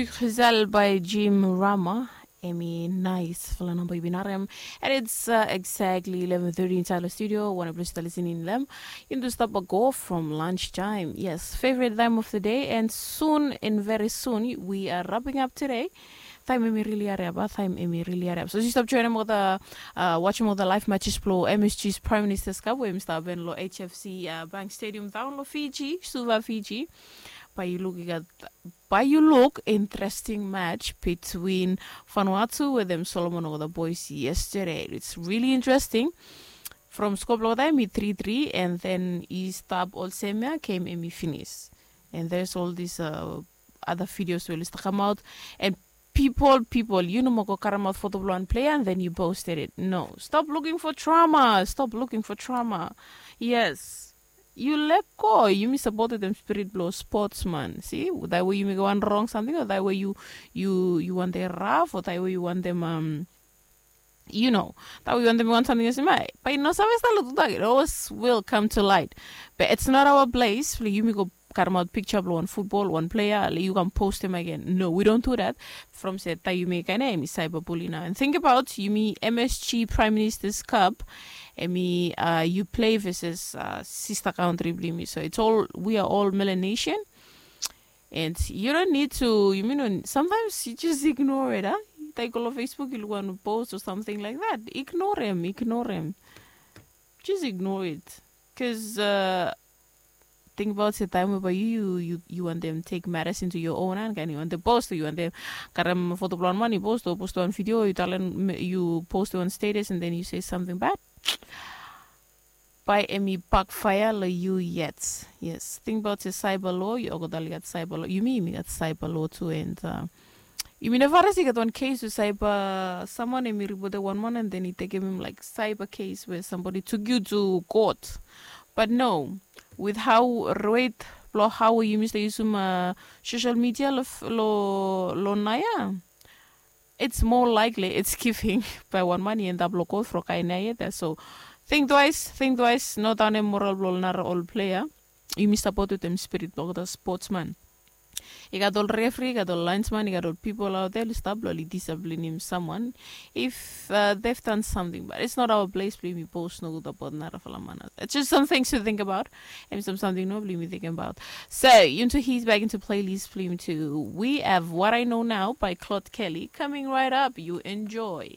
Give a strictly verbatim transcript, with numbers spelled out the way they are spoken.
Giselle by Jim Rama. Emi nais fala namba yu bin harem. And it's uh, exactly eleven thirty inside the studio. Wan blue star listening lem. Into stop a go from lunchtime. Yes, favorite time of the day. And soon and very soon we are wrapping up today. Time emi really hurry up. Time emi really hurry up. So just stop joining with the uh, watching with the live matches blow M S G's Prime Minister's Cup where Mr. Ben lo H F C uh, Bank Stadium down lo Fiji, Suva, Fiji. By you look at by you look interesting match between Vanuatu with them Solomon or the boys yesterday. It's really interesting. From score block time, he three three, and then he stop all semia came and he finish. And there's all these uh, other videos will start come out, and people, people, you know, moko karem out photo one player, and then you posted it. No, stop looking for trauma. Stop looking for trauma. Yes. You let go. You miss about them spirit blow sportsman. See, that way you may go on wrong something, or that way you you you want them rough, or that way you want them um you know, that we want them want something else. But you know, some stuff like that, it always will come to light. But it's not our place. Like, you may go karem out picture of one football, one player, like, you can post them again. No, we don't do that. From said that you make a name, cyberbullying. And think about you me M S G Prime Minister's Cup, and me uh, you play versus uh, sister country, believe me. So it's all we are all Melanesian. And you don't need to, you mean, sometimes you just ignore it, huh? Like all on Facebook, you want to post or something like that. Ignore him, ignore him. Just ignore it. Because uh, think about the time where you, you, you want them take matters into your own hand. Kan you want them post, you want them karem foto blown money, post or post on video, you talent, you post on status, and then you say something bad. By emi backfire lo you yet. Yes, think about the cyber law. You go dali got cyber law. You mean me got cyber law too, and uh, you mean if I see got one case with cyber, someone emi reported one man, and then he take him like cyber case where somebody took you to court. But no, with how rate lo how you miss the use uh, social media lo lo lo naya. It's more likely it's giving by one money and up local for kaina yet. So think twice, think twice, not on a moral blow nara all player. You miss about with them spirit block the sportsman. You got all referee, you got all linesman, you got all people out there. Stop loli disciplining someone if uh, they've done something, but it's not our place. Blame me post no good about nara falamana. It's just some things to think about. And some something no blame me thinking about. So you into he's back into playlist blame too. We have What I Know Now by Claude Kelly coming right up. You enjoy.